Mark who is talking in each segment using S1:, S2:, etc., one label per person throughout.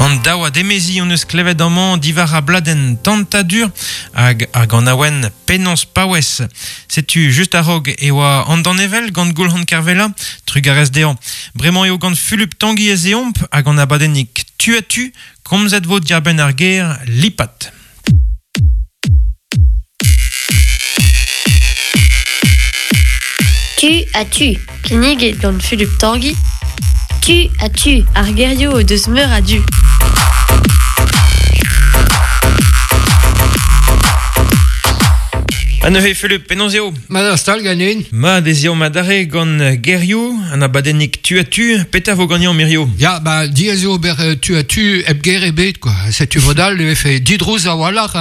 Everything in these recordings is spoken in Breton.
S1: An daouad emezi hon eus klevet amañ diwar ar bladenn Tantadur hag ar ganaouenn Penaos paouez. Setu just a-raok e oa an danevell gant Goulc'han Kervella, trugarez dezhañ. Bremañ eo gant Fulup Tanguy ez eomp hag an abadennig Tu à tu, komzet vo diarbenn ar ger lipat.
S2: Tu à tu.
S3: Kinniget gant Fulup Tanguy.
S2: Tu à tu.
S3: Ar gerioù o deus meur a du.
S1: Ha neuze, Fulup, penaos eo?
S4: Mat ar stal ganin.
S1: Mat ez eo adarre gant gerioù, an abadennig tu à tu. Petra vo ganeomp hirio?
S4: Ya, ba, diaes eo ober tu à tu hep ger ebet, quoi. Setu mod all e vefe didrouz a-walc'h,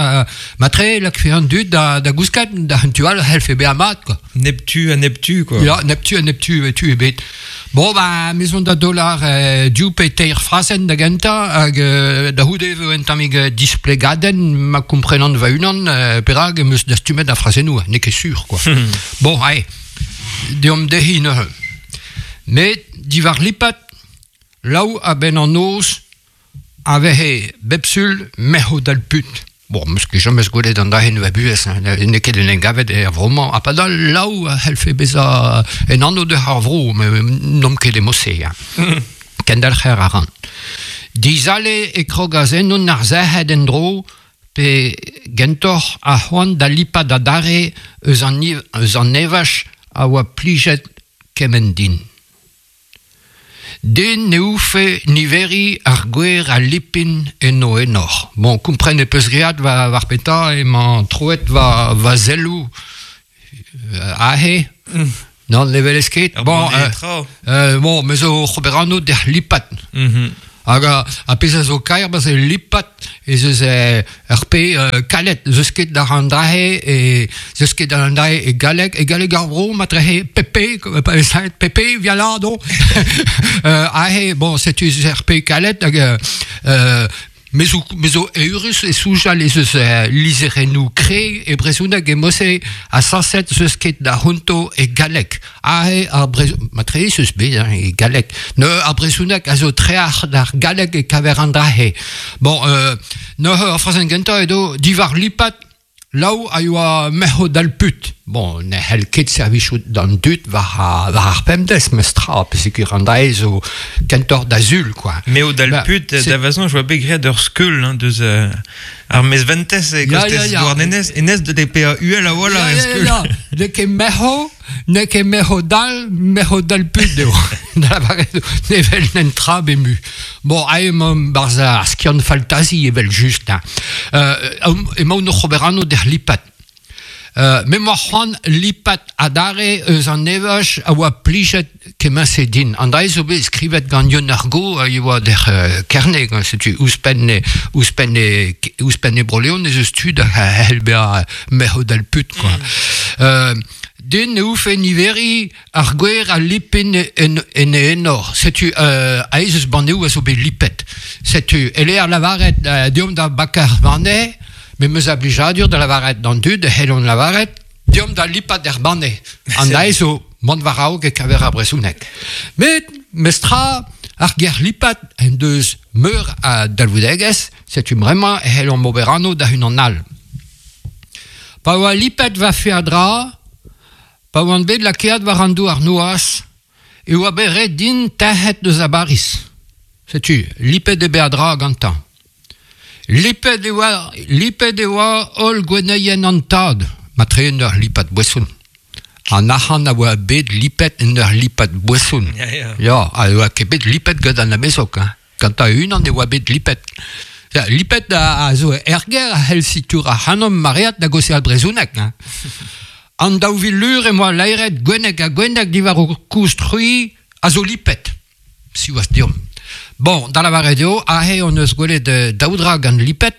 S4: matre lakfe an dud da, da gousket, da un tu all c'hellfe bezañ mat, quoi.
S1: Neptu ha neptu, quoi.
S4: Ya, neptu ha neptu, e tu ebet. Bon, ba, mezon da dollar div pe teir frazenn da gentañ, hag da c'houde e vo un tammig displegadenn ma komprenan va-unan perak em eus dastumet ar frazennoù, n'eo ket sur, quoi. Bon, ae, deomp dezhi neuze. Met diwar lipat, laou a-benn an noz, a vehe bep sul merc'h dal put. Bon, 'meus ket james gwelet an dra-se va buhez, hein, n'eo ket en em gavet er vro-mañ. Ha padal laou a c'hellfe bezañ en anv deus ar vro, met n'omp ket e mod-se. Hein. Kendalc'her a ran. Dizale e krogas ennon ar sec'hed en-dro pe gentoc'h ar c'hoant da lipat adarre eus an, eus an evaj a oa plijet kement din. Den ne oufe niveriñ ar gwer a lipin en o enor. Bon, kompren e peus graet war petra emañ troet va, va selloù aze. Non, ne welez ket.
S1: Bon,
S4: bon, me zo oc'h ober anv d'er lipat. Hag ar pezh a zo kaer, ba c'est lipat ez eus ur pe kalet, zeus ket d'ar an drahe e zeus ket d'ar an drahe e galleg, e galleg ar vro matrehe pepe, pa vez pepe via là donc. Aze, bon, setu ur pe kalet hag Me zo, me zo eürus e soñjal ez eus lizherennoù kre e brezhoneg e mod-se ha sañset 'z eus ket da c'honto e galleg. Aze ar brezhoneg, matre ez eus bet hein, e galleg. Neuze ar brezhoneg a zo treac'h d'ar galleg e kaver an dra-se. Bon, neuze ar frazenn gentañ edo diwar lipat Laou a yoa merc'h dall-put. Bon, ne c'hell ket servijout d'an dud war, war ar pemdez, mestra, peogwir an dra zo kentoc'h da sul, quoi.
S1: M'eo dall-put, da vazoñ, je oa bet graet ur skeul hein, deus ar mezventez e kostez Douarnenez, enez de PA uhel a-walc'h
S4: ar skeul. Ya, ya, ya, n'eo ket merc'h, n'eo ket merc'h dall, merc'h dall-put eo. Da lavaret ne wel nen tra bemu. Bon, ae emañ barzh ar skiant faltazi evel-just. Hein. Emaon oc'h ober anv d'er lipat. Me 'moa c'hoant lipat adarre eus an evaj a oa plijet kement-se din. An dra zo bet skrivet gant Yeun ar Go a oa d'er Kerne, setu ouzhpenn ouzhpenn ouzhpenn e Bro-Leon ez eus tud a c'hell bezañ merc'h dal put quoi. Den ne oufe niveriñ Ar gwer a lipin en, en e enor. Setu euh, aes eus banneoù a zo bet lipet. Setu, e-lec'h lavaret euh, deomp da bakañ ar banne, me 'm eus a blijadur da lavaret d'an dud e c'hellont lavaret deomp da lipat er banne. An aes zo mont war-raok e kaver ar brezhoneg. Met, mestra, ar ger lipat en deus meur a dalvoudegezh, setu bremañ e c'hellomp ober anv da unan all. Pa oa lipet va feadra, Pa oan bet lakaet war an douar noazh e oa bet ret din tec'het eus a Bariz. Setu, lipet eo bet a-dra gantañ. Lipet e oa, lipet e oa holl gwenneien an tad, matre en ur lipat boeson. An arc'hant a oa bet lipet en ur lipat boeson.
S1: Ya, ya.
S4: Ya, ha e oa ket bet lipet gant an amezog. Hein. Gantañ e-unan e oa bet lipet. Ya, lipet a, a zo er gêr a c'hell sitour ac'hanomp maread da gaozeal brezhoneg. Hein. An 2000 lur em boa laeret gwenneg ha gwenneg diwar ho koust-c'hwi a zo lipet. Siwazh deomp. Bon, da lavaret eo, aze hon eus gwelet daou dra gant lipet.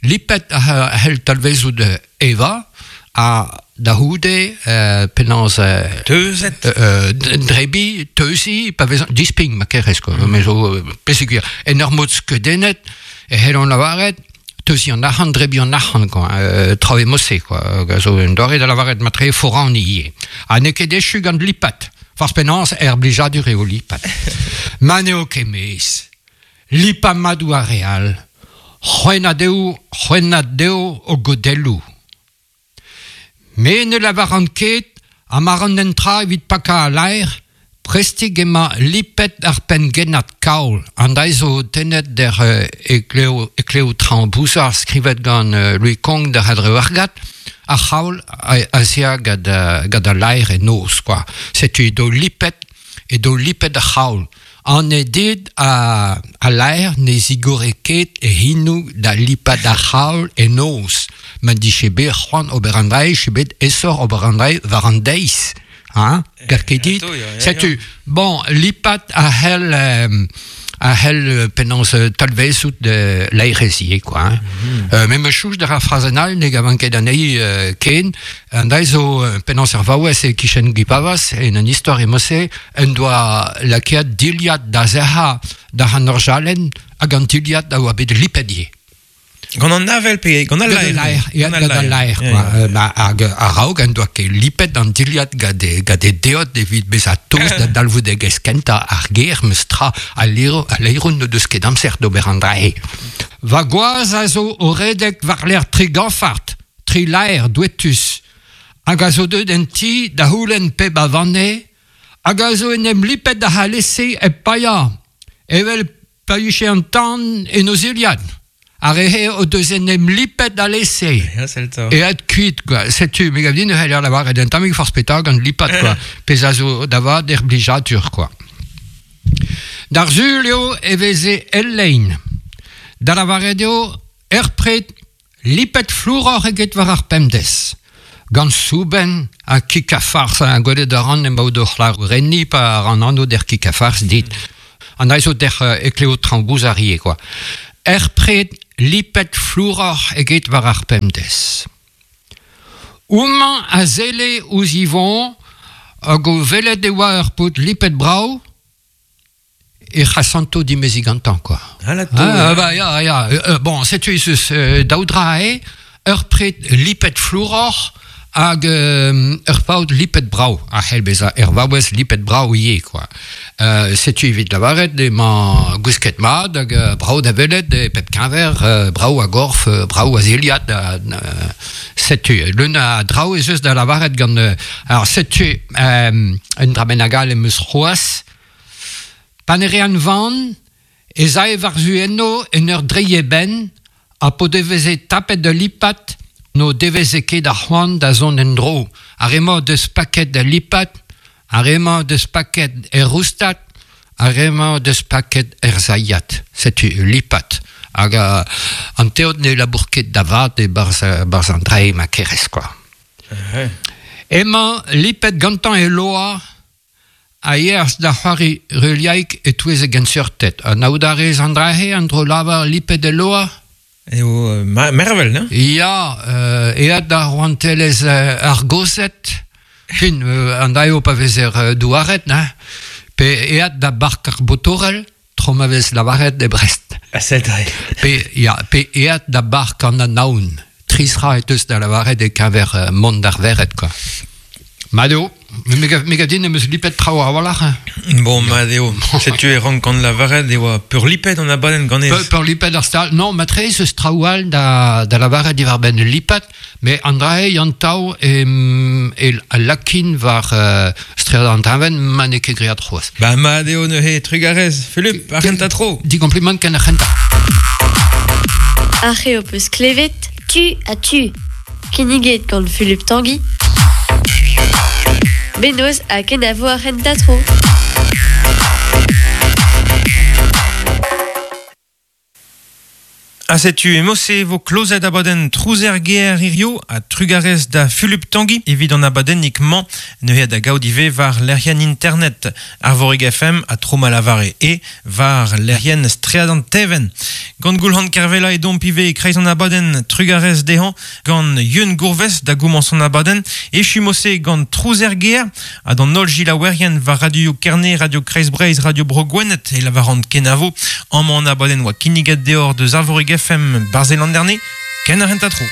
S4: Lipet a c'hell talvezout evañ ha da c'houde penaos
S1: Teuzet.
S4: drebiñ, teuziñ, pa vez dispign ma kerez quoi. Me zo peseurt en ur mod skeudennet e c'hellont lavaret teuziñ an arc'hant, drebiñ an arc'hant quoi, traoù e-mod-se quoi. A zo un doare da lavaret matre foraniñ ivez. Ha n'eo ket echu gant lipat. Forzh penaos er blijadur eo lipat. Ma n'eo ket mezh. Lipa madou ar real, c'hwennad deo o godelloù. Me ne lavaran ket ha ma ran en tra evit paka a laer, prestig ema lipet ar pengennad kaol. An daiz zo tenet der ekleo traoñ bouzar skrivet gant Louis Kong der adre argat, ar c'haol a zea gant a laer e noz, quoi. Setu edo lipet ar c'haol. An e dit a laer ne zigore ket e hinou da lipat ar c'haol e noz. Ma diche bet c'hoant ober an drae, che bet esor ober an drae war an deiz. Hein? Gar ket dit? Setu, bon, lipat a hell penaos talvezout de l'aerezie, quoi. Hein? Me me chouch der ar frazenal, ne gavan ket anezhi ken, an daiz zo penaos ar vaouez e kichen gipavas, en an istor emose, en doa lakeat diliad da zerha da an orjalen hag an diliad da oa bet lipedie.
S1: Gant an avel pe gant al laer.
S4: Gant al laer, quoi. Hag a-raok en doa ket lipet an diliad gant e deod evit bezañ toz da dalvoudegezh kentañ ar ger meus tra a leirun n'o deus ket amzer d'ober an drae. Va gwaz a zo o redek war l'air tri ganfart, tri laer douetus, hag a zo deut en ti da houlenn peb a vanne, hag a zo en em lipet da c'halese e paia, evel païche an tan en o ziliad. Ar rehe o deus en em lipet da lese. E ad kuit, quoi. Setu, me gav din ne c'heller lavaret un tammig forzh petra gant lipat, quoi. Pezh a zo da vat er blijadur, quoi. D'ar sul eo e veze el lein. Da lavaret eo er pred lipet flouroc'h eget war ar pemdez. Gant souben ha kikafars a gwelet a ran emaout o c'hlar renni pa ran anv der kikafars dit. An aizo der ekleo traoñ arie, quoi. Er pred lipet flouroc'h eget war ar pemdez. Oumañ a zele ouzh Yvon hag o velet e oa ur paotr lipet brav e c'hasanto dimezi gantañ, quoi. Ah, ya, ya. Bon, setu ez eus daou dra eo, ur pred lipet flouroc'h hag ur paotr lipet brav. A c'hell bezañ er vaouez lipet brav ivez, quoi. Setu evit lavaret emañ gwisket mat hag brav da welet e pep keñver, brav a gorf, brav a ziliad. Setu, leun a draoù ez eus da lavaret gant... Alors, setu, un dra bennak all em eus c'hoazh. Pa ne rean van, ez ae war-zu enno en ur dreiñ e benn ha po deveze tapet da lipat n'o deveze ket ar c'hoant da zont en-dro. Ar emañ deus paket da lipat, ar emañ deus paket er roustat, ar emañ deus paket er zailhat. Setu lipat. Hag an teod ne labour ket da vat e barzh an drae ma kerez, quoi. Emañ lipet gantañ e loa a yeas da c'hoari reliaik e-touez e genseurted. An aout a rez an drae an dro lavar lipet e loa?
S1: Eo mervel, ne?
S4: Ya, eat da rouantelezh ar gozed, fin, an daeo pa vezer douaret, ne? Pe eat da bark ar botorel, tro ma vez lavaret e Brest.
S1: Ah, c'est vrai.
S4: Pe eat da bark an anaon, trisra et eus da lavaret e keñver mont d'ar verret, quoi. Madeo, me gav din em eus lipet traoù a-walc'h.
S1: Bon, madeo, setu e rank gant lavaret e oa peurlipet an abadenn ganez.
S4: Peurlipet ar stal, non, matre ez eus traoù all da lavaret diwar-benn lipat, mais an drae an tav e lakin war stread an tañvenn ma n'eo ket great c'hoazh.
S1: Ba madeo neuze, trugarez, Philippe, ar c'hentañ tro.
S4: Di kompliment ken ar c'hentañ.
S3: Ar c'heo peus klevet,
S2: tu a tu.
S3: Kinniget gant Philippe Tanguy. Benoz ha kenavo ar c'hentañ tro.
S1: Ha setu emose vo klozet abadenn Trouzer ger hirio ha trugarez da Fulup Tanguy evit an abadennig mañ neuze da gaout ivez war lec'hienn internet Arvorig FM ha tro ma lavare e war lec'hienn Stread an Teven. Gant Goulc'han Kervella e domp ivez e kreiz an abadenn trugarez dezhañ gant Yeun Gourvez da gomañs an abadenn echumose gant Trouzer ger ha d'an holl gilaouerien war Radio Kerne, Radio Kreiz Breizh, Radio Bro Gwened e lavarant kenavo amañ an abadenn oa kinniget deoc'h deus Arvorig FM Barzelanderne, ken ar hent a tro.